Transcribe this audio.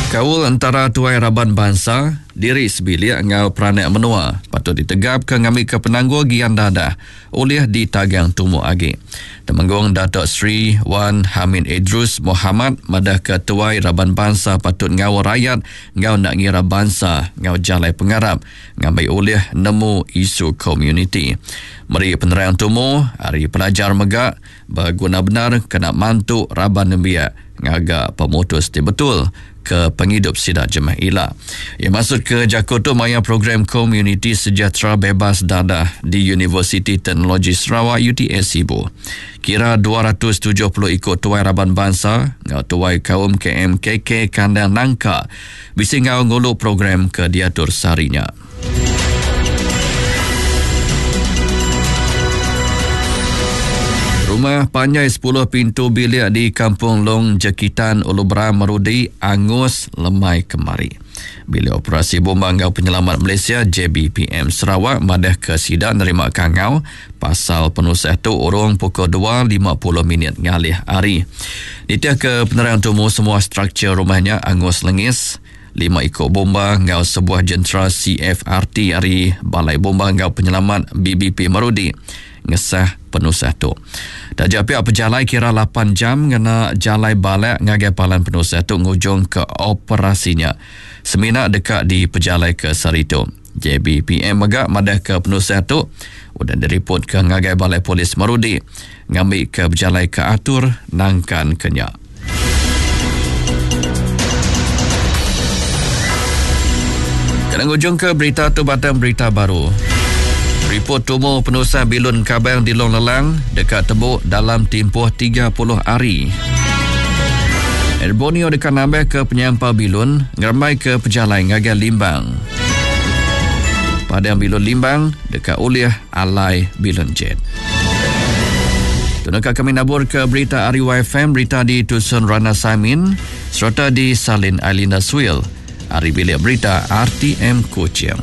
Kaul entara tuai raban bansa, diri sebilik enggau peranak menua patut ditegapka ngambika penanggul gian dadah ulih ditagang tumu agi. Temenggung Datuk Seri Wan Hamid Edrus Mohamad madahka tuai raban bansa patut ngaul rayat enggau enda ngira bansa enggau jalai pengarap ngambi ulih nemu isu komuniti. Meri penerang tumu ari pelajar mega Beguna bendar kena mantu raban nembiak ngaga pemutus ti betul ke pengidup sida jemah ila. Iya maksudka jaku tu maya Program Komuniti Sejahtera Bebas Dadah di Universiti Teknologi Sarawak, UTS, Sibu. Kira 270 iku tuai raban bansa enggau tuai kaum KMKK Kandang Nangka bisi enggau ngulu program ke diatur sehari nya. Rumah panjai 10 pintu bilik di Kampung Long Jekitan Ulu Beram Merudi angus lemai kemari. Bilik Operasi Bomba enggau Penyelamat Malaysia JBPM Sarawak madahka sida nerima kangau pasal penusah tu urung pukul 2.50 minit ngalih hari. Nitihka penerang tumu semua struktur rumah nya angus lengis. Lima iku bomba enggau sebuah jentera CFRT ari Balai Bomba enggau Penyelamat BBP Marudi ngesah penusah tu. Taja pia pejalai kira lapan jam ngena jalai balak ngagai palan penusah tu ngujungka operasi nya semina deka dipejalaika sehari tu. JBPM mega madahka penusah tu udah diripotka ngagai Balai Polis Marudi ngambika bejalaika atur nangkanka nya. Kena ngujungka berita tu batang berita baru. Ripot tumu penusah bilun Kabang di Long Lelang deka tembu dalam timpuh 30 hari. Air Borneo deka nambahka penyampau bilun ngerembaika pejalai ngagai Limbang. Padang bilun Limbang deka ulih alai bilun jet. Tunaka kami nabur ke berita ari YFM, berita di Tusun Rana Samin sereta di Salin Ailinda Suil ari bilik berita RTM Kuching.